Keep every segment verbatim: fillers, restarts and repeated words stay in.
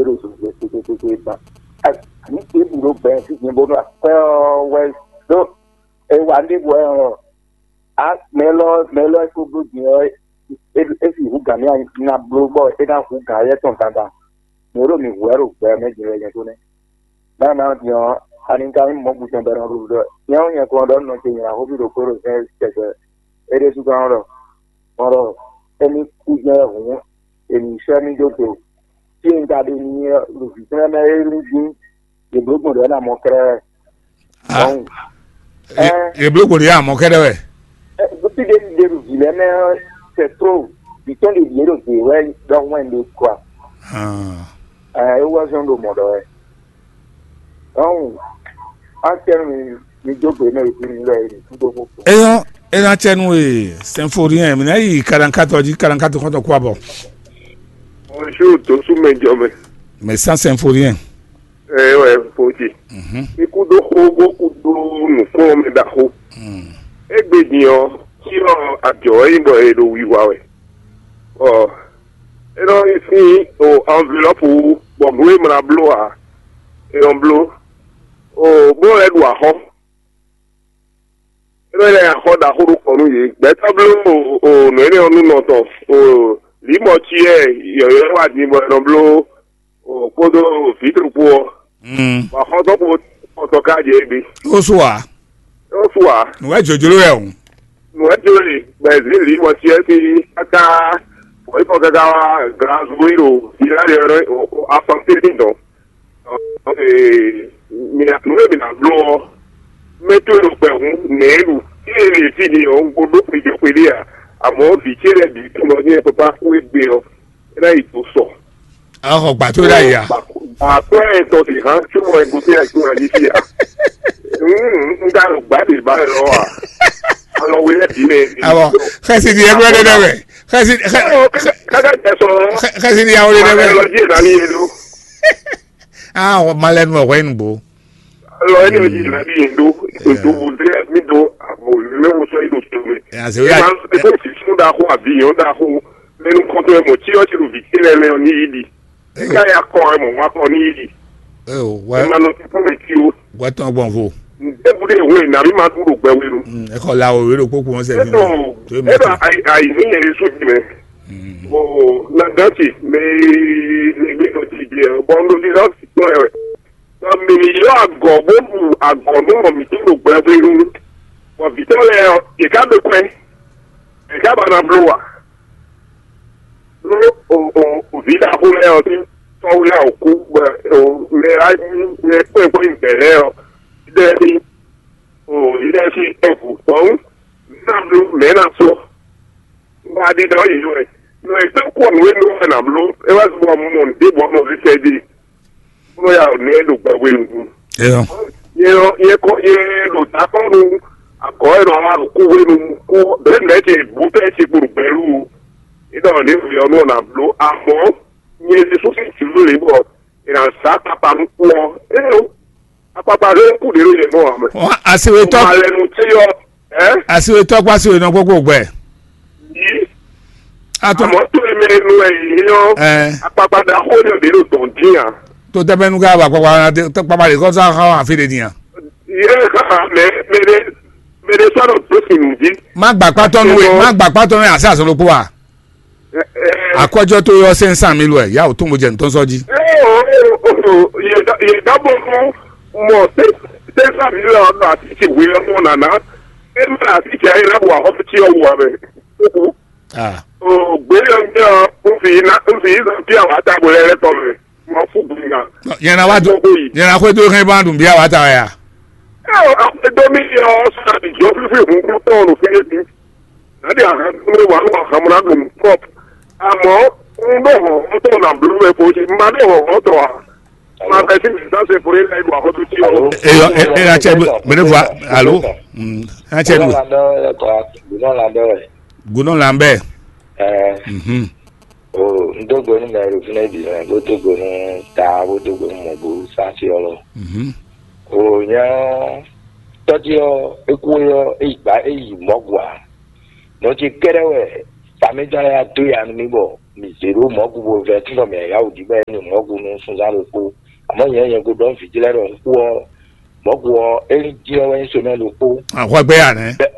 ɖo zozwe kpekpekpe ba. Ani ɖěbǔ ɖo gbɛ sín bónú akwɛ́ ɔ́ wɛ ɖó e wa ɖěbǔ wɛ ɔ́. A mɛ lɔ mɛ lɔ e ko bló din ɔ́, e e si hu gǎn mì ná bló bɔ é ná hu gǎn yɛ tɔn dandan. Mɛ ɖo mǐ hu wɛ ɖo gbɛ mɛ din wɛ nyɛ tó nɛ́. Nǎ nǎ din ɔ́, ani ka nyí mɔ̌ gutɛn bɔ è nɔ ɖu ɖɔ nyɛ ɔ́ nyɛ kɔn ɖɔ nɔ ce nyina xófí ɖokpó ɖo zɛ́n tɛgbɛ. É ɖésú gán ɔ́ ɖɔ mɔ ɖɔ émí kú jɛ́n hǔn è nǐ sɛ́ mì dó do. Fí e un ka ɖe n'i ɔ́, ɖo vǐ tɔn lɛ́ɛ mɛ é lín dín, yě bló gbɔn ɖě ɔ́ ná mɔ kɛ́ɖɛ́ wɛ. Ah, Dɔnku, ye- ɛ ye bló gbòdì yá mɔ kɛɖɛ wɛ. Ɛ, fí ɖé ɖe ɖo vǐ lɛ́ɛ mɛ ɔ́, c'est trop. Vǐ tɔn ɖě ɖíe ɖo dě wɛ ɖɔhun wɛ un ɖe kɔ a? Ah. Ɛ, é wá zɔn ɖo mɔ̌ ɖɔ wɛ. Dɔnku, acɛ́nú mi mi dó gbe mɛ ɖo fí mi lɔ e mi kúdó xó. Eyɔn, ena cɛnu e sɛnforiɛn mi ná yi kalankatɔ jí kalankatɔ kɔntɔ kó abɔ. Bonjour, Dosu Mɛjɔmɛ. Mais sans sɛnforiɛn. Ɛ wɛ fo ce. Mhm. Mi kúdó xó bó kúdó nǔkplɔ́nmɛ ɖaxó. Mm. Égbé din ɔ́, cyɔ ajɔ wɛ nyí bɔ è ɖo wiwa wɛ. Ɔ, é nɔ nyi sín o enveloppe wú, bɔ nǔ e mla bló ǎ, è nɔ bló. O bó lɛ́ ɖu axɔ́. É nɔ lɛ́ axɔ́ ɖaxó ɖo kɔ nú yě. Gbɛtɔ́ bló o o nǔ énɛ́ ɔ́ nú nɔ tɔn. O lǐmɔ cyɛ yɔ̌yɔ́ wá din bɔ è nɔ bló o kpódó vǐtru kpó ɔ́. Mm. Bɔ axɔ́ tɔn kpó tɔn ká jɛ égbé. Ó sú ǎ. Ó sú ǎ. Nǔ wɛ jǒjló wɛ o. Nǔ wɛ jǒ lě, bɔ è zě lǐmɔ cyɛ sín káká, bɔ é kɔ káká wá Glasgow ɖo Sierra Leone, afɔnté ní dɔn. Ee, mi nɔ nǔ e mi ná bló ɔ́, mɛ towe ɖo gbɛ̌hún nɛ̌ ɖu, ée lě fí ni ɔ́, un ko ɖó xwedó xwedó ǎ, amɔ̌ vǐ ce lɛ́ɛ bǐ tunwun ɔ́ ní wɛ papa kú égbé ɔ́, é ná yi do sɔ. Axɔ gbà tó ɖe ayǐ a? Akwɛ́ tɔ ɖe hán, tso mɔ ego tɛ ajo na ní fia. Un ka ɖo gbá ɖe ba lɔ a? Alɔ wele bi mɛ. Awɔ, xɛsi di ɛgbɛ ɖe ɖe wɛ. Xɛsi xɛ- Kaka tɛ sɔ. Xɛ- xɛsi di awo ɖe ɖe wɛ. Alɔ dzi na ni ye do. Ah, malɛ nu ɔwɛ nu bo. Alɔ ye ne dzi na ni ye do. Do bo de mi do abo le mo sɔ yi do to me. Ya se wɛ. Ma e ko si sun da ko abi yon da ko. Mɛ nukɔntɔn e mɔ cyɔ ce ɖo vǐ ce lɛ́ɛ mɛ ɔ́ ní yi ɖi. É ka ya kɔ wɛ mɔ wá kɔ ní yi ɖi. Eo, wɛ É ma nɔ tún mɛ tí o. Wɛ tɔn gbɔn vo. Ŋdɛ́bù ɖé hwe nà mí ma ɖu ɖo gbɛ wenu. Mm, e xɔ la o wéɖo kpókpó wọn sɛ Eɖo fi. Eɖo ayi ní yẹn sún jì mɛ. Mm. O na dán ce mɛ ní gbé lọ ti jẹ bɔ n ɖo ní lọ sí tɔ ẹ. Tɔ mi ní yọ agɔ bó bu agɔ nú mɔ mi tó ɖo gbɛ wenu. Bɔ vǐtɔ lɛ ɔ, yě ká ɖo kwɛ. Yě ká ba na bló wa. Nú o o o vǐ ɖaxó lɛ́ɛ ɔ́ sín tɔ́wú lɛ́ɛ ɔ́ kú bɔ o mɛ e wá nyí mɛ kpɛ́nkpɛ́n bɛ̌ lɛ́ɛ ɔ́, ɖɛ́ ní o lílɛ́ sín ɛ́bù kpɔ́n ná bló mɛ̌ ná sɔ́. Wá ɖi ɖɔ yě yɔ ɛ. Nɔ è tɔ́ kɔ nǔ e nɔ wɛ nǎ bló, é wá zɔ mɔ nǔɖé bɔ nɔ zizɛ dí. Bó nɔ ya nǔ e ɖo gbɛgbɛ nukún. Eyɔ. Yɛ yɛ kɔ yɛ ɖo takɔnu akɔ yɛ nɔ ma ɖo kúwenu kú bɛlɛ nɛ ce bó tɛ ce kpo ɖo gbɛlu. Idɔ ne fi ɔnu na blo amɔ nye Jesu fi tulu le bɔ ina sa kpakpa nu kú ɔ. Eyo akpakpa ɖe kú ɖe ɖo yɛ nɔ amɛ. Wọn asiwetɔ Malɛnu tse yɔ ɛ asiwetɔ kó asiwenɔ kpókpó gbɛ. Yi Atɔ amɔ to eme nu ɛ yi yɔ ɛ akpakpa ɖaxó ne ɖe ɖo dɔn dín a. To tɛmɛ nu ka ba kpakpa na de kpakpa de kɔsa xa wa afi de din a. Ye xa mɛ mɛ de mɛ de sɔ ɖo to si nu di. Má gbà kpátɔ nu ɛ má gbà kpátɔ nu ɛ asi azɔ ɖokpó wa. Akɔjɔ to yɔ sɛn san mi lu ɛ ya o tó mo jɛ ntɔn sɔ ji. Ye da ye da bɔ fún mɔ sɛn san mi lɛ ɔdɔ ati ti hu yɛ mɔ nana. E ma ati ti ayi la bu ahɔ ti ɔwɔ mɛ. Ah. O gbé yɔ ń jẹ́ ọ́ ń fi iná ń fi iná bí àwọn àtàgbò rẹ̀ rẹ̀ tọ̀ rẹ̀ wọ́n fún gbìngàn. Yẹn na wá dùn yẹn na kó dúró kán bá dùn bí àwọn àtàwọn yà. Ẹ ò àwọn ẹgbẹ́ mi yọ ọ́ sọ àbíjọ́ fífi hùn kú tọ̀ ọ̀nù fún yẹn ti. Láti àhán tó lè wà ló wà hàn múná dùn pọ̀. Àmọ́ ń bẹ̀ wọ̀ ọ́ tọ̀ nà blú ẹ̀ bó ṣe má bẹ̀ wọ̀ ọ́ tọ̀ à. Má bẹ̀ sí mi sá ṣe fúri láì lù àkótó tí o. Eyɔ e e na cɛ mene vɔ alo. Mm, na cɛ nu. Gúnɔ la dɔ ɛ. Gúnɔ la bɛ. Ɛ Mhm. O n dó gbe nú mɛ ɖo fínɛ́ bǐ mɛ bó dó gbe nú ta bó dó gbe nú mɔ̌ bó sá sí ɔ́ lɔ. Mhm. O nyɛ tɔ́jí ɔ́ é kú é ɔ́ é yi gbǎ é yi mɔ̌ gua. Nɔ ce kɛ́ɖɛ́ wɛ famíjɔ́n lɛ́ɛ dó ya nú mì bɔ mǐ zé ɖó mɔ̌gu bo vɛ tínɔ mǐ yá wǔ ɖi bɔ é nyi mɔ̌gu nú sunzán ɖokpó. Àmọ́ nyɛ nyɛ ko ɖɔ vǐ ce lɛ́ɛ ɖɔ un kú ɔ́, mɔ̌gu ɔ́ é ní dín ɔ́ wɛ nyí somɛ ɖokpó. Ahwɛgbé ya nɛ́? Bɛ́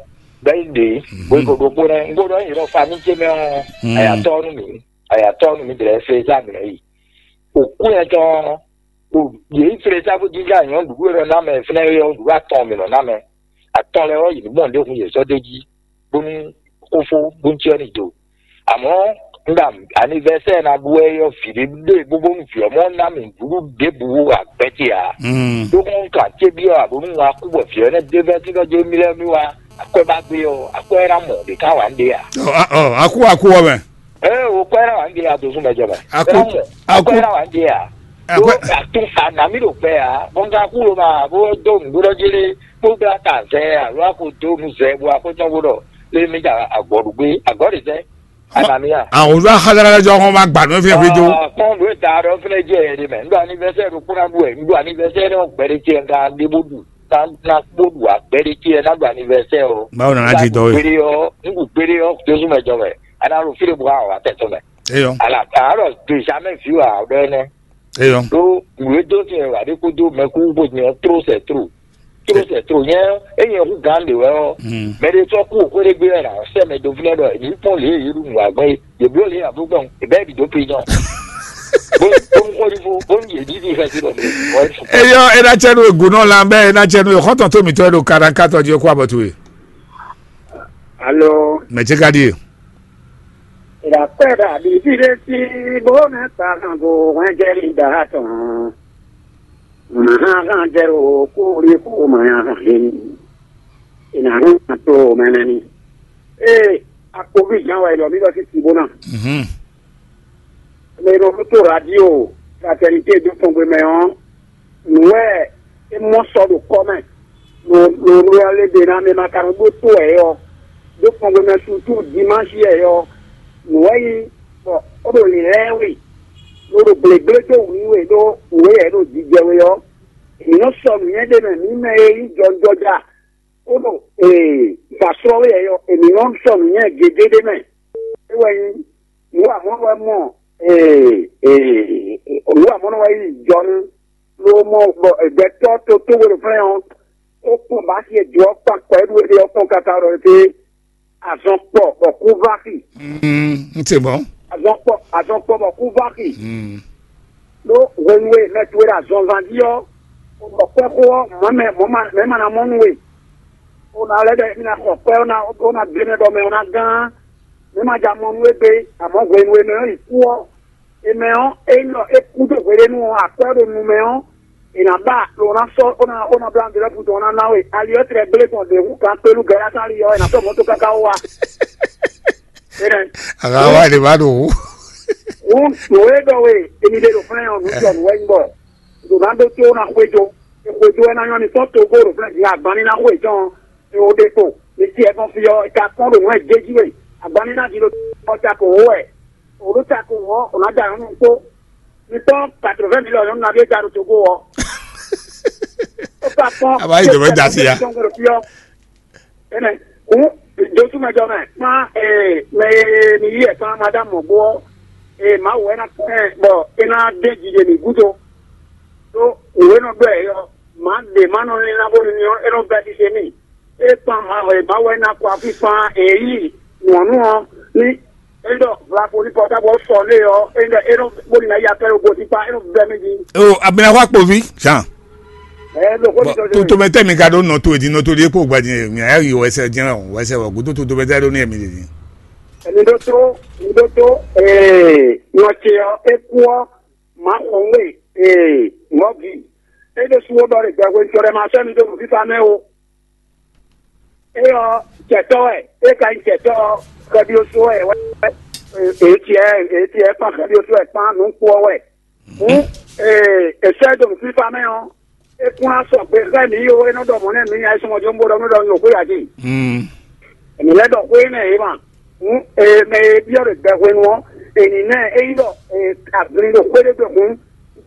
bɛ́ yi ɖě bó yi ko ɖokpó nɛ́. Un ko ɖɔ nyɛ ɖɔ famí ce mɛ ɔ́, ayatɔ́ nú mǐ, ayatɔ́ nú mǐ dlɛ́ fé zá mǐ yi. Òkú yẹn tɔn ɔ́, yě yi flé sá bó jínjɔ́n anyɔ̌ nǔɖuɖu e nɔ ná mɛ fínɛ́ é ɔ́, nǔɖuɖu atɔn mǐ nɔ ná mɛ. Atɔn lɛ́ɛ ɔ́, yě ní gbɔn ɖěhun yě sɔ́ d'é jí bónú xófó bó cí ɔ́ ní do. Àmọ́ un ɖo anivɛsɛ́ɛ ná ɖu wɛ ɔ́, vǐ ɖé ɖe bóbónú vǐ ɔ́ mɔ ná mì nǔɖuɖu ɖěbǔ agbɛ́ ce ǎ. Ɖó kɔn un ka cé byɔ́ ǎ bónú un wá kú bɔ vǐ ɔ́ nɛ́ d'é vɛ́ tínɔ jó mì lɛ́ɛ mì wá akwɛ́ ba gbé ɔ́, akwɛ́ ná mɔ ɖě ká wǎ ɖé ǎ. Ɔ, a- ɔ, Aku aku ɔ́ mɛ. Ee, o kwɛ́ ná wǎ ɖé ǎ, dozú mɛ jɔ mɛ. Aku- Kwɛ́ ná mɔ, aku- kwɛ́ ná wǎ ɖé ǎ. Akwɛ́- Ɖó atún anamí ɖo gbɛ ǎ, bɔn ka kú lo ma bó dó nǔɖuɖɔ jí lé, kpó gbé ata zɛ alo a ko dó nu zɛ bó a ko nyɔ bó ɖɔ lé mi ja agɔ̌ ɖu gbé, agɔ̌ ɖe zɛ. Anamí a? Àwọn olú axádára jọ wọn máa gbà ní fífi jó. Kpɔn ɖo da ɖɔ fúnɛ jẹ ɛ ɖe mɛ. Ŋɖɔ anivɛsɛ ɖo kpó ná ɖu ɛ. Ŋɖɔ anivɛsɛ ɖe ɔgbɛ ɖe tiɛ ŋka ɖe bó ɖu. Na na kpó ɖu agbɛ ɖe tiɛ ná ɖu anivɛsɛ o. Báwo nana jí dɔ we? Gbére ɔ, ŋɖu gbére ɔ, dozú mɛ jɔ mɛ. Ana ɖo fí ɖe bó a wà tɛtɔ mɛ. Eyɔ. Ala a ɖɔ de jamais vu a ɖɔ ɛnɛ. Eyɔ. Ɖó nǔ e dó sin wɛ wà ɖé kúdó mɛkú bó nyɛ tró sɛ tró. Tró sɛ tró nyɛ é nyɛ hu gán ɖe wɛ ɔ. Mɛ ɖé tɔ kú òkú ɖé gbé wɛ nà sɛ mɛ dó fínɛ ɖɔ èmi kpɔn lě e yě ɖu nǔ wá gbɔn é. Yě bló lě abo gbɔn, è bɛ bì dó pe nyɔ. Bó bó ń kɔli fó, bó ń yè ní ní fẹ́ sí lọ. Eyɔ, ena tsɛ nu egu nɔ lan bɛ ena tsɛ nu xɔtɔn tó mi tɔ ɖo kaɖa katɔ jí kó abɔ tu e. Alo. Mɛ tse ka ɖi e. Ìdàpẹ́ dàbí fídé sí bó mẹ́ pàgàngò wọ́n jẹ́ ìdá tán. Màá hàn jẹ́ o kó rí kó màá hàn lé ní. Ìnáwó àtò mẹ́nẹ́ ni. Ee, àpòbí ìjà wa ìlọ mi lọ sí tìbó náà. Mɛ e nɔ ɖó tó radio fraternité dó tɔn gbe mɛ ɔ́, nǔ wɛ é mɔ sɔ ɖo kɔ mɛ. Lo lo lo ya lé ɖe ná mɛ ma ka nɔ ɖó tó ɛ ɔ́, ɖó kpɔngbɛmɛ sutu dimansi ɛ ɔ́, nǔ wɛ nyí bɔ ó ɖo lǐnlɛ́n we, ló ɖo gblěgblé dó wǔ nú we ɖó wǔ e yɛ ɖo jijɛ we ɔ́, mǐ nɔ sɔ nǔnywɛ́ ɖé mɛ mǐ mɛ e nyí jɔjɔja, ó ɖo ee gbǎslɔ́ we ɛ ɔ́, mǐ nɔ sɔ nǔnywɛ́ gěgé ɖé mɛ. É wɛ nyí nǔ wa mɔ̌ wɛ mɔ ee ee nǔ wa mɔ̌ nɔ wɛ nyí jɔnú. Lo mɔ bɔ gbɛtɔ́ to tó we ɖo flɛ́n ɔ́, ó kpɔn bǎ si e do ɔ́ kpan kɔ é ɖu é ɖe ɔ́ kpɔn káká ɖɔ é azɔn kpɔ bɔ kú vá xi. Mm, n te mɔ. Azɔn kpɔ azɔn kpɔ bɔ kú vá xi. Mm. Ɖó hwenu e mɛ towe ɖo azɔnzan jí ɔ́, bɔ kpɛ́xó ɔ́ mɔ̌ mɛ mɔ̌ ma mɛ ma ná mɔ nú we. Ó ná lɛ́ ɖɔ émí ná xɔ kpɛ́ ó ná ó ná gbé mɛ bɔ mɛ ɔ́ ná gán. Mɛ ma ja mɔ nú we gbé, àmọ́ hwenu e mɛ ɔ́ yi kú ɔ́, è mɛ ɔ́, ényí ɖɔ é kú dó hweɖénu ɔ́, akwɛ́ ɖo nu mɛ ɔ́, è nǎ ba lo ná sɔ́ ó ná ó ná bló anvilɔ́pu tɔn ná ná we. Ali ɔ́ tlɛ gblé gbɔn ɖě hú kan kpélu gɛ́ lásán ali ɔ́, è nǎ sɔ́ mɔ̌to káká wá. Énɛ́. Àgàwá èdè bá ɖo wú. Wú nǔ e ɖɔ we èmi ɖe ɖo flɛ́n ɔ́, nǔ sɔ nǔ wɛ nyí bɔ ɖo ná ɖó tó ná xwéjó. Xwéjó wɛ ná nyɔ́ mi tɔn togbó ɖo flɛ́n din agban ní ná xwé tɔn. È wo ɖe kpo mi ti ɛ gbɔn fi ɔ́, è ka kpɔ́n ɖo nǔ wɛ jé jí we. Agban ní ná ɖi ɖo ɔ́ ta kò wó wɛ. Òɖó ta ko wɔ ò nǎ da nǔ kpó. Mi kpɔ́n quatre-vingts mille nyɔ̌nu nabí e da ɖo Togo ɔ́. Ó ka kpɔ́n. A b'a yi dǒ mɛ da si ya. Tɔn gbɔdɔ fi ɔ́. Énɛ́. Hǔn dosúmɛjɔ mɛ kpán ee mɛ e mi yí ɛ kpán madame mɔ̌gbó ɔ́, ee Mawu wɛ ná kpɛn bɔ é ná dé jijɛ mǐ gúdo. Ɖó nǔ e nɔ ɖɔ ɛ ɔ́, mǎ ɖě ma nɔ lílá bónú ní ɔ́, é nɔ bɛ́ ɖi se mì. É kpan Mawu e Mawu wɛ ná kɔ afí kpán èyí nyɔ̌nu ɔ́ ní é ɖɔ vlavo ní pɔtábɔ sɔ lé ɔ́, é ɖɔ é nɔ bónú ná ya pɛ́ ɖo gosíkpá, é nɔ bɛ́ mì jí. O abinaxɔ akpovi jean. Ɛ ɖo kó ní Bɔn sɔ tó tó bɛ tẹ́ mi ka ɖó nɔ tó èdè nɔ tó ɖé kpó gbadé mi ayé yìí wɛsɛ jẹ́ wɛsɛ wɔ gúdó tó tó bɛ tẹ́ ɖó ní ẹ̀mí lè ní. Èmi ɖó tó, mi ɖó tó, ee, nɔ ce ɔ́, é kú ɔ́, má xɔ wé, ee, mɔ̌ bǐ. É ɖésú ó ɖɔ ɖe gbɛhwenu tɔn lɛ́ɛ ma sɛ́ mi dó nǔ fífá mɛ ó. É ɔ́, jɛ̌tɔ́ wɛ, é ka nyí jɛ̌tɔ́ ɔ́, xɛbyósó wɛ wɛ, èétiɛ èétiɛ kpán xɛbyósó wɛ kpán nǔ kpó ɔ́ wɛ. Hǔn, ee, è sɛ́ dó nǔ fífá mɛ ɔ́, é kún ná sɔgbe xá mǐ ó, é nɔ ɖɔ mɔ̌ nɛ́ mǐ nya é súnmọ́ jó ń bó ɖɔ nú ɖɔ un ɖo xwé ǎ jí. Èmi lɛ́ ɖɔ xwé énɛ́ yě ma. Hǔn, ee, mɛ e byɔ́ ɖo gbɛ hwenu ɔ́, è nǐ ná ɛ, ényí ɖɔ, ee, aglin ɖo xwé ɖé gbe hǔn,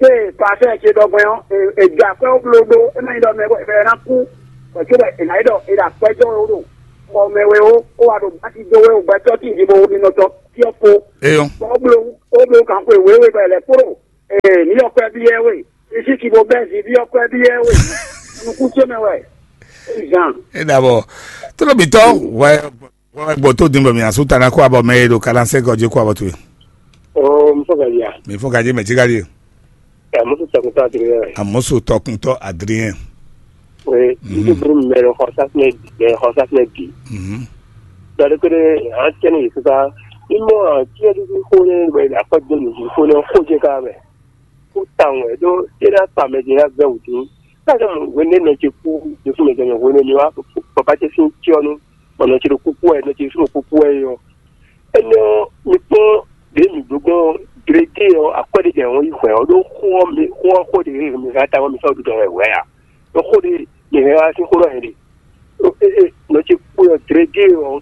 Ṣé pàṣẹ ṣe ɖɔgbɛn ɔ́, è jɛ akwɛ́ ó bló ɖó é má nyí ɖɔ mɛ wɛ ná kú, bɔ cóbɔ è nǎ yi ɖɔ è ɖo akwɛ́ jɔ wɛ ó ɖo xɔ mɛ wɛ ó, ó wá ɖo báti dó wɛ ó gbɛtɔ́ tíin jí bó wú nínɔ́ tɔ́. yɔ kpo. Eyɔn. Bɔ o blo o blo kan xwe wéwe bɛ lɛ kpro. Ee, mi yɔ kɔ bi yɛ we. Isi ki bo bɛ zi bi yɔ kɔ bi yɛ we. Nukun ce mɛ wɛ. Zan. E da bɔ. Tolo bitɔ wɛ wɛ gbɔ to din bɔ mi asu tana ko abɔ mɛ e do kalan se gɔje ko abɔ to ye. O, mi fɔ ka ya. Mi fɔ ka je mɛ ti ka je. Amusu tɔkuntɔ Adrien. Amusu tɔkuntɔ Adrien. Oui, mhm. Ibi buru mɛ lɔ xɔ safinɛ bi, mɛ xɔ safinɛ bi. Mhm. Dɔde kede an tɛni yi sisa. Imɔ tiɛ dudu xo ne mɛ akɔ do mi xo ne xo je ka mɛ. Ko tan wɛ do tena pa mɛ de na vɛ wudu. Ka jɔ mo wene nɔ ce ku de fu mɛ de mɛ wene mi wa papa ce sin tiɔ nu. Bɔ nɔ ce ɖo kuku wɛ, nɔ ce sin ɖo kuku wɛ yɔ. Énɛ́ ɔ́, mi kpɔ́n ɖě mǐ bló gbɔn Glete ɔ́, akwɛ́ ɖé jɛ wɔn yi hwɛ ɔ́ ɖó xó ɔ́ mɛ, xó ɔ́ xó ɖě mǐ hɛn ata ɔ́ mi sɔ́ ɖuɖɔ wɛ hwɛ a? Ɖó xó ɖé mǐ hɛn wá sín xó ɖɔ hɛn ɖe. Nɔ ce kpo ɔ́ Glete ɔ́,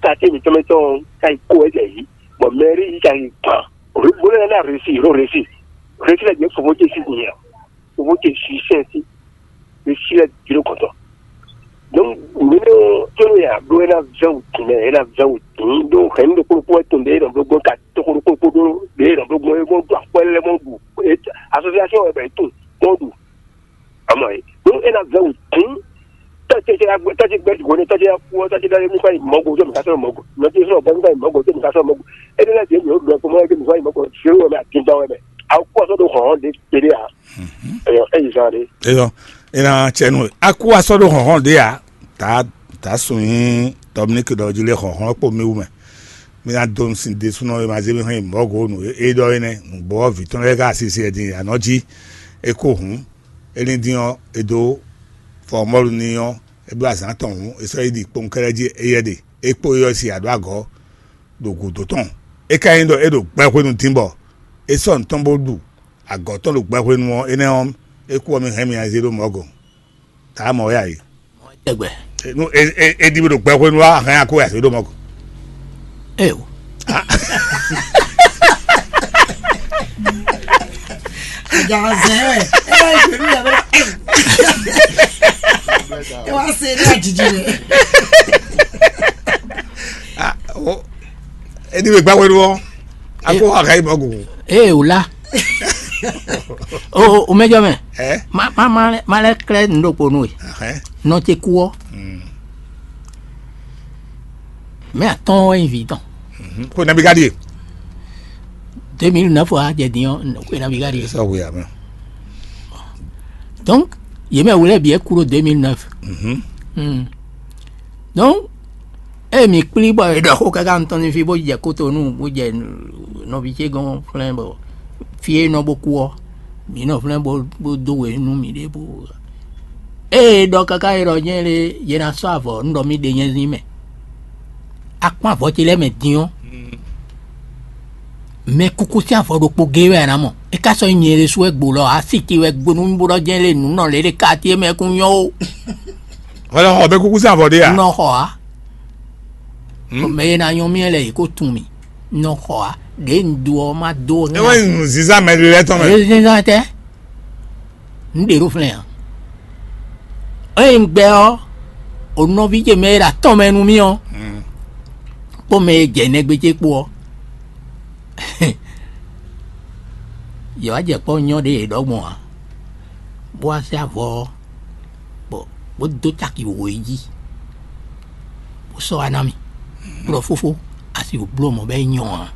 kate mǐtɔn mɛ tɔn ɔ́, ka yi kó wɛ jɛ yǐ, bɔ mɛrí yi ka yi gban. Bó lɛ́ ná resi, ɖó resi, resi lɛ jɛ fofó ce sí din a? Fofó ce sí sɛn sí. Ɖe sí lɛ jló kɔtɔ. Donc mǐ nɔ tló ya ɖó é ná vɛ́ wǔ dín mɛ, é ná vɛ́ wǔ dín ɖó hɛ̌nnu ɖokpó ɖokpó wɛ tɔn ɖě nɔ bló gbɔn ka tóxó ɖokpó ɖokpó ɖó ɖě nɔ bló gbɔn é gbɔn ɖó akwɛ́ lɛ́ɛ mɔ ɖu association wɛ bɛ tun mɔ ɖu. Amɔ é ɖó é ná vɛ́ wǔ dín. Tɔ́ ce tɔ́ ce gbɛ ɖigo ne tɔ́ ce kú ɔ́, tɔ́ ce ɖɔ mi kɔ yi mɔgo tó mi ka sɔ́ mɔgo, nɔ ce sɔ́ gbɔ mi kɔ yi mɔgo tó mi ka sɔ́ mɔgo. É ɖé lɛ́ɛ ɖě mi ɖo ɖɔ kpɔ́n mɔ é mi kɔ yi mɔgo zéro wɛ mɛ, adingbɔn wɛ mɛ. Awu kú ɔ́ sɔ́ ɖo hɔn ɖé kpéɖé ǎ. Eyɔ, é yi zan ɖé. Eyɔ, é ná cɛ nú we. Aku wá sɔ́ ɖó hɔ̌nhɔ́n ɖé ǎ. Tá tá sun nyí Dominique ɖɔ jí lé hɔ̌nhɔ́n kpó mì wú mɛ. Mì ná dó sin ɖésúnɔ e ma zé mì hɛn yi mɔ̌ go nǔ e ɖɔ é nɛ́. Nǔgbó ɔ́ vǐ tɔn lɛ́ɛ ká asisi ɛ din anɔ̌ jí. É kó hǔn, é ní dín ɔ́, é dó fɔmɔ́lu n'i ɔ́, é bló azǎn tɔn hǔn, é sɔ́ yi ɖi kpowunkɛ́lɛ́ jí éyɛ́ ɖe. É kpó éyɔ́ si aɖǒ agɔ̌ ɖo gǔdo tɔn. É ka nyí ɖɔ é ɖo gbɛhwenu dín bɔ é sɔ́ nǔ tɔn bó ɖu agɔ̌ tɔn ɖo gbɛhwenu ɔ́, énɛ́ ɔ́, é kú ɔ́, mi hɛn mì azé ɖó mɔ̌ gɔ̌n. Taa mɔ wɛ a yi. Tɛgbɛ. Nú e e e ɖi mi ɖo gbɛhwenu wá, a hɛn a kó wɛ azé ɖó mɔ̌ gɔ̌n. Eo. Agazɛ wɛ. E wá yi pẹ̀lú yàrá. E wá se ní àjijì rẹ̀. Ah, o e ɖi mi gbɛhwenu ɔ́, a kó wɛ a hɛn yi mɔ̌ gɔ̌n. Ee, o la. O o mɛjɔ mɛ. Ɛ? Ma ma ma ma lɛ klɛ nu ɖokpo nu e. Ahɛn. Nɔ ce kú ɔ́. Mm. Mɛ atɔn wɛ nyi vi tɔn. Mhm. Ko nabi ka ɖie. Deux mille neuf wa jɛ din ɔ́, ko nabi ka ɖie. Sɔ hu ya mɛ. Donc yě mɛ wlɛ́ bǐ é kú ɖo deux mille neuf. Mhm. Hmm. Donc ée mǐ kplí bɔ è ɖɔ xó káká nutɔn ní fí bó jɛ kótonú bó jɛ nɔví ce gɔ́n flɛ́n bɔ fí e nɔ bó kú ɔ́, mǐ nɔ flɛ́n bó bó dó we nú mǐɖée bó. Ée ɖɔ káká e ɖɔ nyɛ lé yě ná sɔ́ avɔ un ɖɔ mì ɖe nyɛ zín mɛ. Akpɔ́n avɔ ce lɛ́ɛ mɛ din ɔ́, mɛ kuku sín avɔ ɖokpó géé wɛ a nǎ mɔ. É ka sɔ́ nyí nyɛ ɖésú wɛ gbo lɔ ǎ, asi ce wɛ gbo nú mì bó ɖɔ jɛ́n lé nǔ nɔ lě ɖe ka ce mɛ kún nyɔ́ ó. Hwɛ lɔ xɔ mɛ kuku sín avɔ ɖé a? Nɔ xɔ á. Hmm? Mɛ e ná nyɔ́ mì lɛ yě kó tun mì. Nɔ xɔ á. Ɖě un do ɔ́ má dó. É wɛ nǔ zízá mɛ ɖé lɛ́ɛ tɔn mɛ. Zinzan tɛ. Un ɖe ɖó flɛ́n ǎ. Ée un gbɛ ɔ́, o nɔví ce mɛ e ɖo atɔn mɛ nú mì ɔ́, kpó mɛ e jɛ nɛgbé ce kpó ɔ́, yě wá jɛ kpɔ́ nyɔ́ ɖé e ɖɔ gbɔn ǎ, bó wá sɛ́ avɔ ɔ́, bɔ bó dó caki wǒ yi jí, bó sɔ́ wá ná mì. Bó ɖɔ fófó, a sixú bló mɔ̌ bɔ é nyɔ́ ǎ.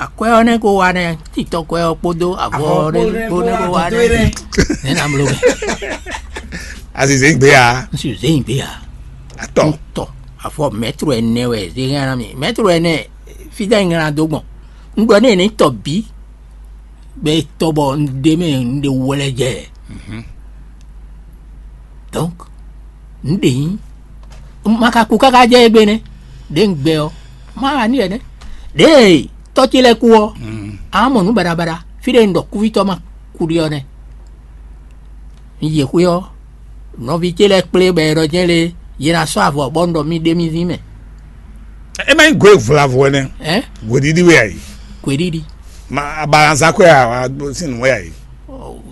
Akwɛ́ ɔ́ nɛ́ ko wa nɛ́, titɔ́kwɛ́ ɔ́ kpódó avɔ ɔ́ nɛ́ kpó nɛ́ ko wa nɛ́. Nɛ̌ ná bló mɛ? Azize gbe ya. Un si zé nyi gbe ya. Atɔ. Un tɔ avɔ mɛtro ɛnɛ wɛ zé hɛn ná mi. Mɛtro ɛnɛ fídá nyi ŋlá dó gbɔn. Un ɖɔ n'i ní tɔ bǐ. Bɛ tɔ bɔ un ɖe mɛ un ɖe wlɛ jɛ. Donc un ɖe nyi ma ka kú káká jɛ égbé nɛ́. Ɖě un gbɛ ɔ́, má wa n'i wɛ nɛ́. Ɖěe tɔ́ ce lɛ́ɛ kú ɔ́, a mɔ nǔ baɖabaɖa fí ɖé un ɖɔ kúvítɔ́ ma kú ɖe ɔ́ nɛ́. Un yi xwé ɔ́, nɔví ce lɛ́ɛ kplé bɔ è ɖɔ jɛ́n lé yě ná sɔ́ avɔ bɔ un ɖɔ mì ɖe mì zín mɛ. É má nyí gwe vlavo ɛnɛ. Ɛ? Gweɖiɖi wɛ ayi. Gweɖiɖi. Ma abalanza kwɛ a wa sin nu wɛ ayi.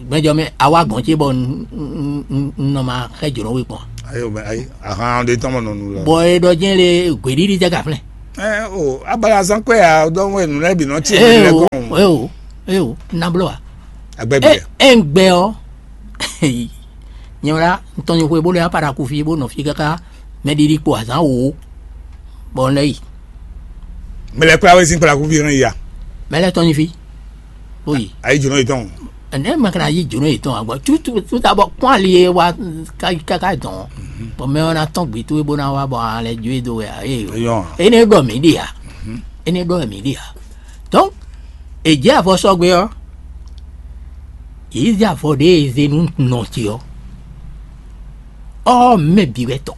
Gbɛjɔ mɛ awa gɔn ce bɔ un nɔ ma xɛ jǒnɔ we kpɔn. Ayi o, ayi, ahan ɖe tɔn mɔ nɔnu lɔ. Bɔ e ɖɔ jɛn le, gběɖiɖi jɛ gaflɛn. Ɛ o, abala zan kwɛ ya dɔn wɛ nǔ lɛ́ɛ bì nɔ tsi nǔ lɛ́ɛ kɔn. Eo, eo, na bló wa. Agbɛ bi. E e ń gbɛ ɔ. Nyɛ wla ntɔn nyi xwe bó lɛ apara kufi bó nɔ fi káká mɛ ɖiɖi kpo azán wo. Bɔ un lɛ yi. Mɛ lɛ kplá wɛ sín kplá kufi hɛn ya. Mɛ lɛ tɔn nyi fi. Oyi. Ayi jɔnɔ yetɔn. Ɛnɛ mɛ kana yi jɔnɔ yetɔn agbɔ tutu tuta bɔ kpɔn ali ye wa káká dɔn. Bɔn mɛ ɔ́ na tɔn gbe towe bó ná wá bɔ alɛ jó e do wɛ a. Eyɔ. Ene ɖɔ mǐ ɖe a. Ene ɖɔ mǐ ɖe a. Donc, è jɛ avɔ sɔgbe ɔ́, yě zé avɔ ɖě e zé nú nɔ ce ɔ́, ɔ́ mɛ bǐ wɛ tɔ.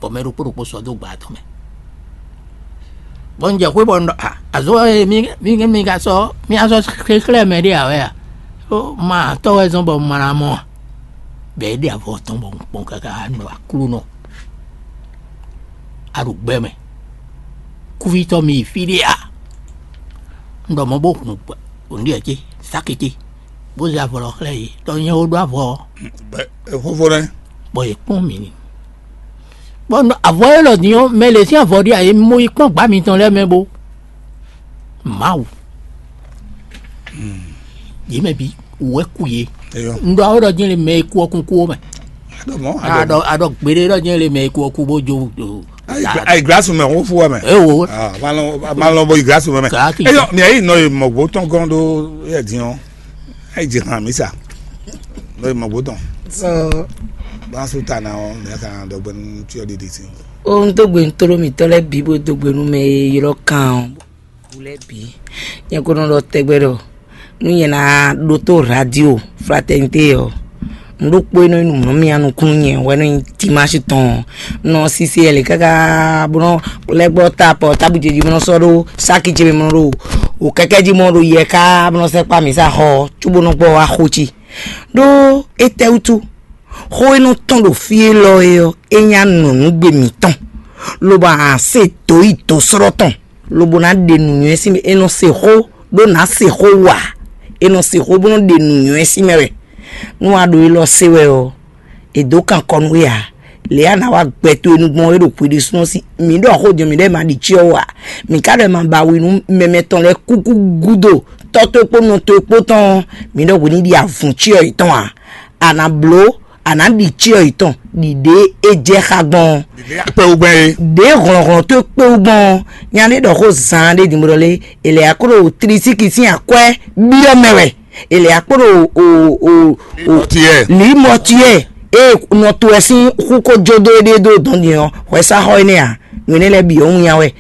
Bɔ mɛ ɖokpó ɖokpó sɔ́ dó gba tɔn mɛ. Bɔ un jɛ xwé bɔ un ɖɔ a azɔ̌ e mi mi mi ka sɔ́ mi ka sɔ́ xexlɛ́ mɛ ɖé ǎ wɛ a? Ó ma tɔ́ wɛ zɔ́n bɔ un ma ná mɔ a? Bɔ é ɖe avɔ tɔn bɔ un kpɔn káká nɔ aklúnɔ. A ɖo gbɛ mɛ. Kúvítɔ́ mi yi fí ɖé a? Un ɖɔ mɔ̌ bó hun ònɖíɛ ce, sáki ce, bó zé avɔ lɔ xlɛ́ yě, ɖɔ nyɛ ó ɖó avɔ ɔ́. Xófó nɛ́. Bɔ yě kpɔ́n mì ni. Bɔ avɔ élɔ́ din ɔ́, mɛ lě sín avɔ ɖé ǎ, yě mɔ yi kpɔ́n gbǎ mitɔn lɛ́ɛ mɛ bó. Mawu. Yě mɛ bǐ wǔ wɛ kú yě. Eyɔ. Un ɖɔ awɔ́ ɖɔ jɛ́n le mɛ e kú ɔ́ kún kú ó mɛ. Aɖɔ mɔ. Aɖɔ aɖɔ gbeɖé ɖɔ jɛ́n le mɛ e kú ɔ́ kú bó jó. Ayi glasu mɛ xófó wɛ mɛ. Ewo. Ah, ma lɔn ma lɔn bɔ yi glasu mɛ mɛ. Kaki. Eyɔ mi ayi nɔ yi mɔgbo tɔn gɔn ɖó yɛ din ɔ́. Ayi dzi hàn mí sa. Nɔ yi mɔgbo tɔn. Sɔ. Bá su ta na ɔ́ mi ka dɔgbe nu tí ɔ ɖiɖi si. O n dógbe n tló mitɔ́ lɛ́ɛ bǐ bó dógbe nú mɛ e ylɔ́ kan ɔ́. Wú lɛ́ɛ bǐ. Nyɛ ko nɔ ɖɔ tɛgbɛ ɖɔ nú nyɛ ná ɖótó radio Fraternité ɔ́, nǔ ɖokpó e nɔ nyí nǔmlɔ́mya nukún nyɛ wɛ nɔ nyí Timási tɔn ɔ́. Un nɔ sisi ɛlɛ káká bó nɔ lɛ́ gbɔ ta pɔ tábú ce jí bó nɔ sɔ́ ɖó sáki ce mɛ bó nɔ ɖo wǒ kɛ́kɛ́ jí bó nɔ ɖo yɛ ká bó nɔ sɛ́ kpá mǐ sa xɔ ɔ́ cóbó nɔ gbɔ wá xó ce. Ɖó étɛ́ wútu? Xó e nɔ tɔ́n ɖo fí élɔ́ é ɔ́, é nyí anɔ̌nugbe mǐtɔn, lobo a se dǒ yi dǒsrɔ́ tɔn, lobo ná ɖe nǔnywɛ́ sín mɛ. È nɔ se xó ɖó nǎ se xó wa, è nɔ se xó bó nɔ́ ɖe nǔnywɛ́ sín mɛ wɛ. Nú a ɖo élɔ́ se wɛ ɔ́, è dǒ kan kɔ nú we ǎ. Lě a nǎ wa gbɛ towe nu gbɔn é ɖo hwi ɖésúnɔ sí. Mǐ ɖɔ xó din ɔ́, mǐ ɖɔ è ma ɖi cyɔ ó ǎ. Mǐ ka ɖɔ è ma ba wi nú mɛmɛ tɔn lɛ́ɛ kúkú gúdo tɔ́ towe kpó nɔ towe kpó tɔn ɔ́, mǐ ɖɔ hwi ní ɖi avǔn cyɔ yětɔn ǎ. A nǎ bló, a nǎ ɖi cyɔ yětɔn ɖi ɖě é jɛ xá gbɔn ɔ́. Akpɛwúgbɛ́n é. Ɖě hlɔ̌nhlɔ́n towe kpé wú gbɔn ɔ́, nya ɖé ɖɔ xó zaan ɖé din bó ɖɔ lé, è lɛ akó ɖo tlisíki sín akwɛ́ byɔ́ mɛ wɛ. È lɛ akó ɖo o o o Limɔtiyɛ. Limɔtiyɛ. Ée nɔ to wɛ sín xú ko jó dó éɖée dó dɔn din ɔ́, hwɛsáxɔ énɛ́ ǎ. Nǔ énɛ́ lɛ́ɛ bǐ ɔ́ wún nya wɛ.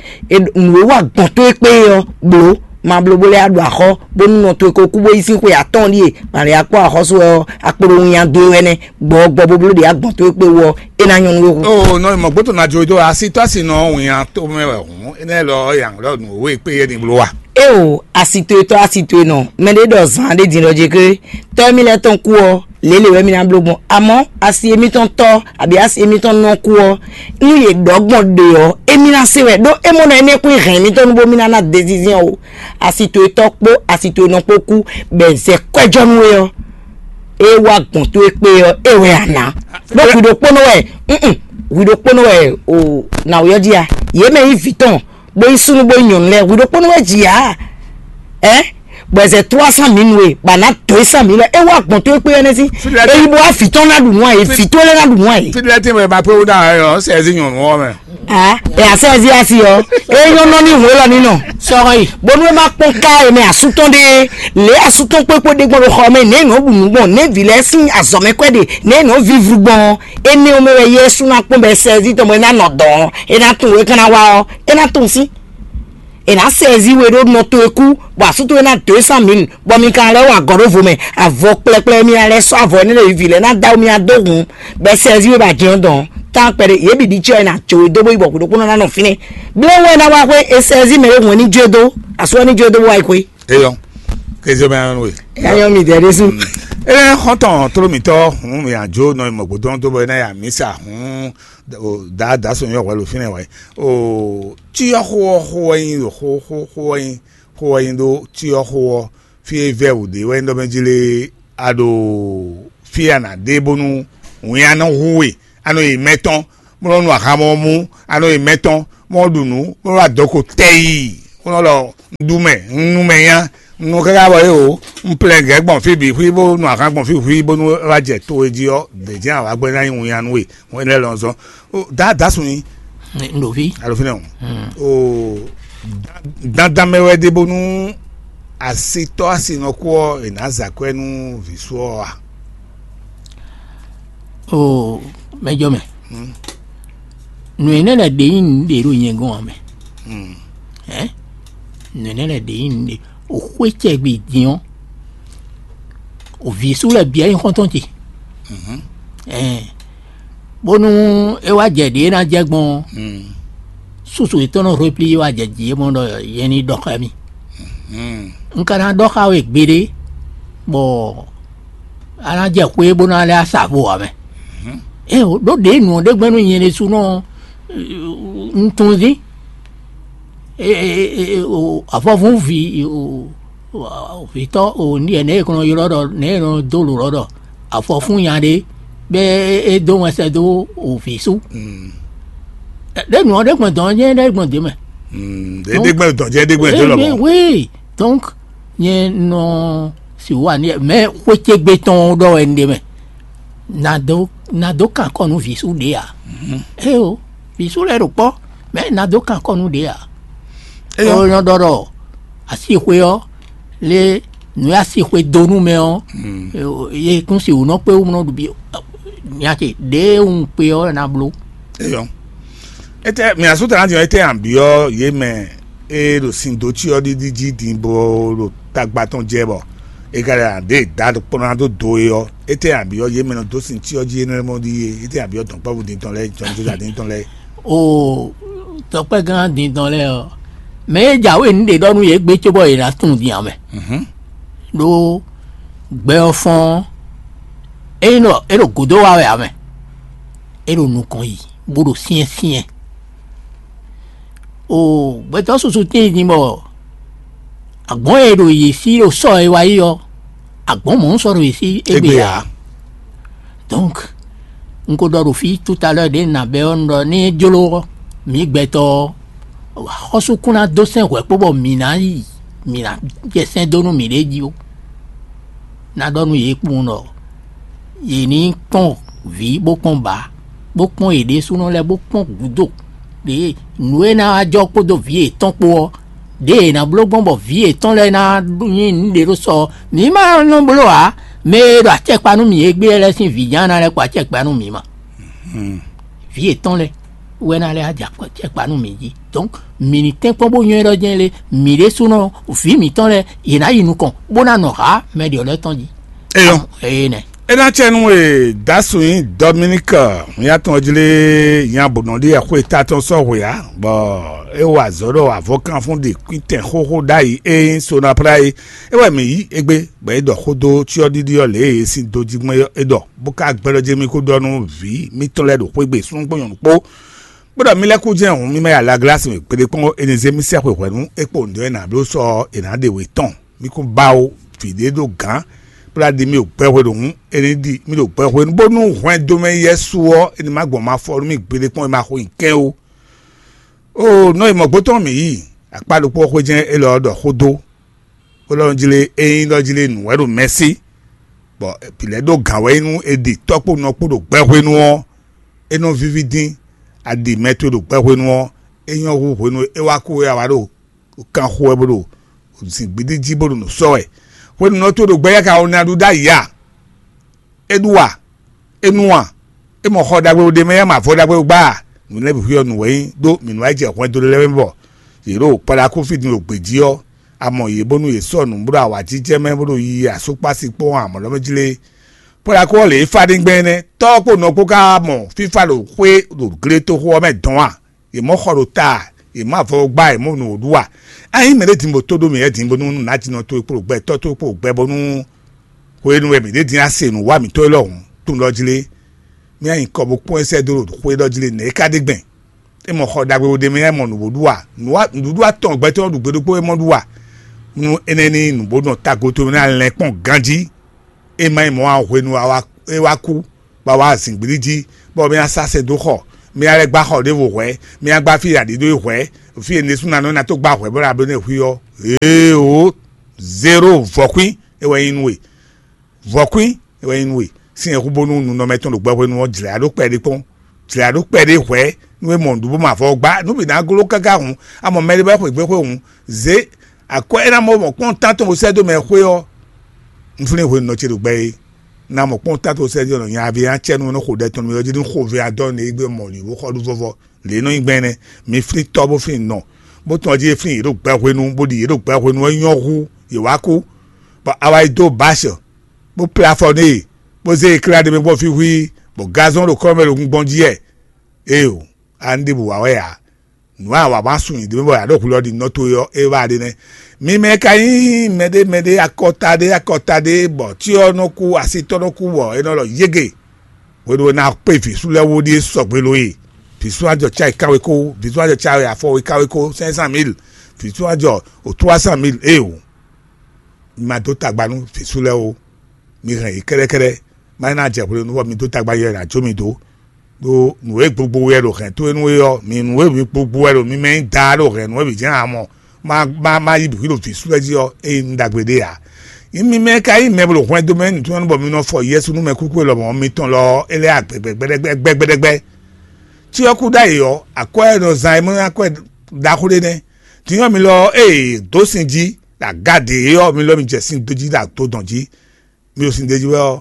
Nǔ e wa gbɔn tó e kpé é ɔ́, blǒ. Ma bló bó lɛ́ wá ɖu axɔ́ bónú nɔ towe ko kú bó yi sín xwe atɔ́ɔ́n ɖíe, ma lɛ́ akpɔ́ axɔ́sú wɛ ɔ́, a kpo ɖo winnyá dó e wɛ nɛ́. Gbɔ̌ gbɔ bó bló ɖě a gbɔn tó e kpé wú ɔ́, é ná nyɔ́ nú we hu. Oo, nɔ mɔ gbɔ̌ tɔn ná jó dó asítɔ́ asi nɔ winnyá tó mɛ wɛ hǔn, énɛ́ lɔ ɔ́, yǎ lɔ nǔ e kpé yɛ ní bló wa. Éeǒ, asi towe tɔ́ asi towe nɔ, mɛɖé ɖɔ zǎn ɖé din ɖɔ jě ké, tɔ́ émí lɛ́ɛ tɔn kú ɔ́, lě lě wɛ mì ná bló gbɔn. Amɔ̌, asi émítɔn tɔ́, abǐ asi émítɔn nɔ kú ɔ́, nú yě ɖɔ gbɔn ɖe ɔ́, émí ná se wɛ, ɖó é mɔ nɔ énɛ́ kún hɛn émítɔn nú bómí ná ná dezizɛ́n o. Asi towe tɔ́ kpó asi towe nɔ kpó kú, bɔ è zɛ kwɛ́jɔ́ nú we ɔ́, é wá gbɔn tó e kpé ɔ́, é wɛ a nǎ. Ɖó hwi ɖokpónɔ wɛ, mm, hwi ɖokpónɔ wɛ o nǎwe ɔ́ jí a? Yě mɛ nyí vǐ tɔn, bó nyí súnnu bó nyí nyɔ̌nu lɛ́ɛ, hwi ɖokpónɔ wɛ jǐ a? Ɛ, bɔ è zɛ trois cent mille nú we, bɔ a nǎ dǒ e cent mille lɛ́ɛ, é wá gbɔn tó e kpé ɔ́ nɛ́ sín. Fí lɛ́ɛ tɛ́- Ényí bó wá vǐ tɔn ná ɖu nǔ a yě, vǐ towe lɛ́ɛ ná ɖu nǔ a yě. Fí lɛ́ɛ tɛ́ mɛ ba pé wó ɖa ɛ ɔ́ sɛ zi nyɔ̌nu ɔ́ mɛ. A, ɛ a sɛ zi asi ɔ́, é nyɔ́ nɔ ní hwě lɔ ní nɔ. Sɔ́ yi. Bónú é má kpɔ́n ká e mɛ asú tɔn ɖe, lě asú tɔn kpékpó ɖe gbɔn ɖo xɔ mɛ, nɛ̌ nɔ ɖu nǔ gbɔn, nɛ̌ vǐ lɛ́ɛ sín azɔ̌ mɛ kwɛ́ ɖe, nɛ̌ nɔ vívlu gbɔn ɔ́, énɛ́ ɔ́ mɛ wɛ Yɛsu ná kpɔ́n bɔ sɛ́zí tɔn bɔ é ná nɔ dɔ̌n, é ná tunwun é ka ná wá ɔ́, é ná tunwun sín. È nǎ sɛ́zí we ɖó nɔ towe kú, bɔ asú towe ná dǒ é cent mille, bɔ mi ka lɛ́ wa agɔ̌ ɖó vo mɛ, avɔ kplɛkplɛ mi ná lɛ́ sɔ́ avɔ énɛ́ lɛ́ɛ yi vǐ lɛ́ɛ ná dó awu mi ná dó hun, bɔ è sɛ́zí we bɔ a jɛ́n dɔn tán kpɛɖé yě bǐ ɖi cyɔ e ná jó we dó bó yi bɔ hwě ɖokpónɔ ná nɔ fínɛ́. Bló wɛ ná wá xwé è sɛ́zí mɛ ɖé hun ní jó e dó, asú ɔ́ ní jó e dó bó wá yi xwé. Eyɔ, kéze mɛ anu we. Yányɔ mi dɛ ɖésú. Eye xɔntɔn tló mitɔ hun mi adzo nɔ mɔ gbódó tó bɔ ná ya misa hun da da sɔn yɔ wɛlo fínɛ wɛ. O tí yɔ xó ɔ xó wɛ nyi xó xó xó wɛ nyi xó wɛ nyi ɖó tí yɔ xó ɔ fí e vɛ wǔ ɖe wɛ nyi ɖɔ mɛ jí lé a ɖo fí a nǎ ɖe bónú Wǐn a nɔ hu we, a nɔ yi mɛ tɔn, bó nɔ́ nu ahan mɔ mú, a nɔ yi mɛ tɔn, bó nɔ́ ɖu nǔ, bó nɔ́ wá dɔ̌ ko tɛ́ yí, bó nɔ́ ɖɔ: "Un ɖu mɛ, un nu mɛ nya, un nɔ káká bɔ é o, un plɛ gɛ̌ gbɔn fí bǐ xwí, bó nu ahan gbɔn fí xwí, bónú é wá jɛ to e jí ɔ́, dě jɛ́n awǎ gbɛ́ ná nyí wǐn a nú we." Wɛn lɛ́ɛ lɔ zɔn. Ó, dǎ dǎ sun nyi. Un ɖo fí. Alo fínɛ́ o. Ó, dandan mɛ wɛ ɖe bónú asitɔ́ asinɔkú ɔ́ è nǎ zǎ kwɛ́ nú vǐ sú ɔ́ a? O, mɛjɔ mɛ. Nǔ énɛ́ lɛ́ɛ ɖě nyí nǔɖé ɖo nyɛ gɔ́n ǎ mɛ. Hɛ̌n? Nǔ énɛ́ lɛ́ɛ ɖě nyí nǔɖé. O xwé cɛgbɛ din ɔ́, o vǐ sú lɛ́ɛ bǐ wɛ nyí xɔ́ntɔn ce. Ɛɛ, bónú é wá jɛ ɖě e ná jɛ gbɔn ɔ́, súsu yětɔn nɔ hwéplí wá jɛ jǐ e mɔ ɖɔ yɛ ní ɖɔ xá mì. Un ka ná ɖɔ xá we gbeɖé, bɔ a ná jɛ xwé bó ná lɛ́ asavo ǎ mɛ. Ée o, ɖó ɖě nǔ ɔ́ ɖé gbɛ́ nú nyɛ ɖésúnɔ un tunwun dín. Avɔvún ví vǐtɔ́ o ní ɛ nɛ̌ è nɔ ylɔ́ ɖɔ nɛ̌ è nɔ dó lǒ ɖɔ ɖɔ afɔfún nya ɖé bɛ é dó wɛn sɛ́ dó o vǐ sú. Ɖé nǔ ɔ́ ɖé gbɔn dɔn jɛ́n ɖé gbɔn dě mɛ. Ɖé gbɛ́ dɔn jɛ́n ɖé gbɛ́ dó lɔmɔ̌. Oui, donc nyɛ nɔ si wà ní mɛ xwé ce gbe tɔn ɖɔ wɛ un ɖe mɛ. Nado nado kan kɔ nú vǐ sú ɖě ǎ. Ée o, vǐ sú lɛ́ɛ ɖo kpɔ́, mɛ nado kan kɔ nú ɖě ǎ. Ó nɔ ɖɔ ɖɔ asixwé ɔ́ lé nǔ e asixwé dó nú mɛ ɔ́, yě kún si wǔ nɔ kpé wú nɔ ɖu bí nya ce ɖěe un kpé ɔ́ ná bló. Eyɔ. Étɛ́ mǐ asú tɛn ná din ɔ́, étɛ́ nǎ byɔ́ yě mɛ e ɖo sin dó cyɔ ɖiɖi jí din bó ɖo tagba tɔn jɛ bɔ è ka ɖe ǎ ɖe da kpɔ́n ná dó do é ɔ́, étɛ́ nǎ byɔ́ yě mɛ nɔ dó sin cyɔ jí énɛ́ mɔ ɖíe? Étɛ́ nǎ byɔ́ dɔ̌nkpɛvú din tɔn lɛ́ɛ, jɔnjɔ́ din tɔn lɛ́ɛ? O, dɔ̌nkpɛ́gán din tɔn lɛ́ɛ ɔ́, mɛ e jǎwe nǔ ɖe ɖɔ nú yě gbé cóbɔ yě ná tunwun din ǎ mɛ. Ɖó gbɛ ɔ́ fɔ́n ɔ́, é nyí ɖɔ é ɖo gǔdo wa wɛ ǎ mɛ. É ɖo nukɔn yi bó ɖo syɛ́nsyɛ́n. O, gbɛtɔ́ susu tíin din bɔ agbɔ̌n e ɖo yě sí ɖo sɔ́ e wá yi ɔ́, agbɔ̌n mɔ̌ sɔ́ ɖo yě sí égbé ǎ. Donc un ko ɖɔ ɖo fí tout à l'heure ɖě un ná bɛ́ ɔ́, un ɖɔ ní é jló ɔ́, mǐ gbɛtɔ́ ɔ́, axɔ́sú kún ná dó sɛn hwɛ̌ kpó bɔ mǐ ná yi mǐ ná jɛ sɛn dó nú mǐɖée jí ó. Ná ɖɔ nú yě kpowun ɖɔ yě ní kpɔ́n vǐ bó kpɔ́n bǎ, bó kpɔ́n yě ɖésúnɔ lɛ́ɛ bó kpɔ́n gǔdo. Ɖě nǔ e ná wá jɔ kpódó vǐ yětɔn kpó ɔ́, ɖěe è nǎ bló gbɔn bɔ vǐ yětɔn lɛ́ɛ ná nyí nǔɖé ɖó sɔ ɔ́, mǐ ma nɔ bló ǎ. Mɛ e ɖo acɛkpa nú mǐ égbé lɛ́ɛ sín vǐ ján ná lɛ́ kɔ acɛkpa nú mǐ ma. Vǐ yětɔn lɛ́ɛ wɛ ná lɛ́ wá jɛ acɛkpa nú mǐ jí. Donc mǐ ní tɛ́nkpɔ́n bó nywɛ́ ɖɔ jɛ́n lé, mǐ ɖésúnɔ vǐ mǐtɔn lɛ́ɛ yě ná yi nukɔn bó ná nɔ hǎ mɛ ɖě ɔ́ lɛ́ɛ tɔn jí. Eyɔ. Eye nɛ. É ná cɛ nú e dasu nyí Dominique nya tɔn jlé nya bǒ nɔ ɖi ɛxwé ta tɔn sɔ́ hwe ǎ, bɔ é wa azɔ̌ ɖɔ avɔkanfún ɖi kwítɛn xóxó ɖ'ayǐ e nyí Sonapra é. É wɛ mǐ yí égbé, bɔ é ɖɔ xó dó cyɔ́ɖiɖi ɔ́ lě e é sín dó jí gbɔn é ɖɔ, bó ka gbɛ́ ɖɔ jɛ́n mì kó ɖɔ nú vǐ mǐtɔn lɛ́ɛ ɖo xwé gbe súnnu kpó nyɔ̌nu kpó, bó ɖɔ mì lɛ́ kú jɛ́n hǔn mì ma yi alaglasi mɛ gbeɖé kpɔ́n é ní zé mì sɛ́ xweyǐhwɛ́ nú é kpo nǔɖé e nǎ bló sɔ́ ɔ́, è nǎ ɖe wě tɔn. Mì kún ba ó, vǐ ɖé ɖo gǎn, bó ná ɖi mì ɖo gbɛhwe ɖo hǔn, é ní ɖi mì ɖo gbɛhwe nú bónú hwɛndo mɛ yɛ́ su ɔ́, é ní ma gbɔn ma fɔ nú mì gbeɖé kpɔ́n é ma xo nyi kɛ́n ó. Oo, nɔ e mɔ̌gbó tɔn mǐ yi, akpá ɖokpó xwé jɛ́n élɔ́ ɔ́ ɖɔ xó dó, bó ɖɔ jlé é nyí ɖɔ jlé nǔ wɛ ɖo mɛsí, bɔ vǐ lɛ́ɛ ɖó gǎn wɛ é nú è ɖi tɔ́ kpó nɔ kpó ɖo gbɛhwenu ɔ́, é nɔ víví dín. A ɖi mɛ towe ɖo gbɛhwenu ɔ́, é nyɔ́ hú hwenu e é wá kú é a wá ɖo kan xo wɛ bó ɖo zǐngbíɖí jí bó ɖo nǔ sɔ́ wɛ. Hwenu nɔ towe ɖo gbɛ yá ka ɔ́ ná ɖu ɖ'ayǐ a? É ɖu a? É nu a? É mɔ xɔ ɖagbe ɖé mɛ yá mɔ avɔ ɖagbe gbá a? Nǔ lɛ́ɛ bǐ xwíyɔ nǔ wɛ nyí ɖó mǐ nú wá yi jɛ hwɛndo lɛ́ɛ mɛ bɔ yě ɖo kpaɖakúfí din ɖo gbě jí ɔ́, a mɔ yě bónú yě sɔ́ nǔ bó ɖo awǎjijɛ mɛ bó ɖo yiyi asúkpási kpó amɔ̌ lɔ́ mɛ jí lé. Pɔ́lakó ɔ́ lě e fá ɖígbɛ́n énɛ́, tɔ́ ɔ́ kpó nɔ kpó ka mɔ fífá ɖo xwé ɖo gletoxo ɔ́ mɛ dɔn a? Yě mɔ xɔ ɖo ta a? Yě mɔ avɔ gbá a? Yě mɔ nǔ ɖu a? Ényí mɛɖé din bó tó ɖó mǐ lɛ́ɛ din bónú nǎjínɔ towe kpó ɖo gbɛ tɔ́ towe kpó ɖo gbɛ bónú hwenu e mǐ ɖě din a se nǔ wa mǐtɔn élɔ́ hǔn, tunwun ɖɔ jí lé, mì nyi kɔ bó kpɔ́n ɛ sɛ́ dó ɖo xwé ɖɔ jí lé nɛ̌ é ka ɖe gbɛn? É mɔ xɔ ɖagbe ɖé mɛ yá mɔ nǔ bó ɖu a? Nǔɖuɖu atɔn gbɛtɔ́ ɖu gbe ɖokpó é mɔ ɖu a? Nú énɛ́ ní nǔ bó nɔ tago towe ná lɛn kpɔ́n ganjí. É má nyí mɔ̌ ǎ, hwenu e a wá kú, bɔ wá zǐngbílí jí, bɔ mì asá sɛn dó xɔ, mì alɛ gbá xɔ ɖěvo hwɛ̌, mì agbá fí aɖǐ ɖó hwɛ̌, fí e nɛsúnanɔ ná tó gbá hwɛ̌ bó ná bló nɛ́ hwí ɔ́. Ee o, zéro vɔ̌kwín é wɛ nyí nú we. Vɔ̌kwín é wɛ nyí nú we. Sín yɛhú bónú nunɔmɛ tɔn ɖo gbɛ hwenu ɔ́, jlɛ̌ ɖó kpɛɖé kpɔ́n, jlɛ̌ ɖó kpɛɖé hwɛ̌ nú é mɔ nǔɖuɖu bó ma vɔ gbá nú bǐ ná gló káká hǔn, a mɔ mɛɖé bɔ é xweyǐgbe xwe hǔn, zě akwɛ́ é ná mɔ mɔ kpɔ́n tán tɔn bó sɛ́ dó mɛ xwé ɔ́. Un flín hwenu nɔ ce ɖo gbɛ é, ná mɔ kpɔ́n tán tɔn bó sɛ́ dó nɔ nya ví ná cɛ nú nɔ xo ɖɛ tɔn nú mɛ ɔ́ jí ní xo vɛ adɔ nɛ é gbé mɔ lǐ bó xɔ ɖu vɔvɔ. Lě nɔ nyí gbɛn nɛ́, mi flín tɔ́ bó flín nɔ, bó tɔn jí é flín yě ɖo gbɛ hwenu, bó ɖi yě ɖo gbɛ hwenu ɔ́ nyɔ́ hú yě wá kú, bɔ a wá yi dó báṣɔ, bó plé afɔ n'i, bó zé e klá ɖe mɛ gbɔn fí hwíí, bɔ gazɔ́n ɖo kɔ́ mɛ ɖo gungbɔn jí wɛ. Éeǒ, a ní ɖěbǔ wa wɛ ǎ. Nǔ e a wa wá sun nyi ɖě mɛ bɔ a ɖo hwlɔ́ ɖi nɔ towe ɔ́, é wá ɖe nɛ́. Mi mɛ ka nyí mɛɖé mɛɖé akɔta ɖé akɔta ɖé, bɔ cyɔ nɔ kú, asitɔ́ nɔ kú, bɔ è nɔ ɖɔ yége. Hwenu e ná kpé vǐ sú lɛ́ɛ wú ɖíe sɔgbe lo e. Vǐ sú ajɔ cá yi káwe kó, vǐ sú ajɔ cá yi afɔ yi káwe kó cinq cent mille, vǐ sú ajɔ o trois cent mille. Éeǒ, mi ma dó tagba nú vǐ sú lɛ́ɛ o. Mi hɛn yě kɛ́ɖɛ́kɛ́ɖɛ́, má ná jɛ hwenu nú bɔ mi dó tagba yɛ ná jó mi dó. Ɖó nǔ e gbogbo wɛ ɖo hɛn towe nú é ɔ́, mi nǔ e mi gbogbo wɛ ɖo mi mɛ nyí daa ɖo hɛn nǔ e mǐ jɛ́n ǎ mɔ, má má má yí bǐ ɖo vǐ sú lɛ́ɛ jí ɔ́, é nyí nǔ ɖagbe ɖé ǎ. Nyí mi mɛ ka nyí mɛ bó ɖo hwɛndo mɛ nǔtɔn bɔ mi nɔ fɔ Yɛsu nú mɛ kúkú e lɔmɔ̌ mitɔn lɔ ɔ́, é lɛ́ agbɛgbɛgbɛɖɛgbɛgbɛɖɛgbɛ. Cyɔ́kú ɖ'ayǐ ɔ́, akwɛ́ e nɔ zán é mɔ akwɛ́ ɖaxó ɖé nɛ́. Din ɔ́, mi lɔ ɔ́, ée dǒ sin jí ɖo aga ɖě é ɔ́, mi lɔ mi jɛ sin dó jí ɖo ato dɔn jí, mi ɖo sin d'é jí wɛ ɔ́,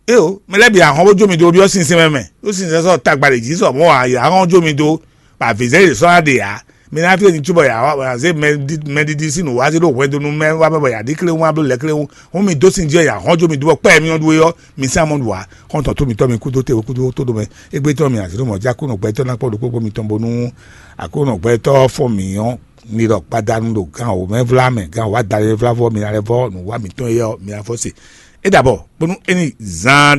éeǒ, mɛ lɛ́ɛ bǐ ahɔn bó jó mi dó byɔ́ sinsɛn mɛ mɛ, ɖó sinsɛn sɔ́ tagba ɖě jí sɔ mɔ̌ ǎ, yě ahɔn jó mi dó, bɔ avǐzɛ́n yě sɔ́ ná ɖe ǎ. Mi ná fí e mi cóbɔ yě ahɔn azé mɛɖiɖi sín nǔ wá zé ɖó hwɛndo nú mɛ wá mɛ bɔ yě aɖí kléwún wá bló lɛ́ kléwún, hún mi dó sin jí wɛ yě ahɔn jó mi dó bɔ kpɛ́ mi ɔ́ ɖu é ɔ́, mi sɛ́n amɔ̌ ɖu ǎ. Xɔ́ntɔn tó mitɔ́ mi kúdó te kúdó tó ɖo mɛ, égbé tɔn mi azě ɖo mɔ̌ jí Aklúnɔ gbɛtɔ́ ná kpɔ́ ɖokpó kpó mitɔn bónú Aklúnɔ gbɛtɔ́ fɔ́n mǐ ɔ́, mi ɖɔ gbadanu ɖo gan wǒ mɛ vlá mɛ, gan wǒ adalɛ vlá vɔ, mi ná lɛ́ vɔ nǔ wa mǐtɔn é ɔ́, mi ná fɔ se. É ɖabɔ bónú é ní zán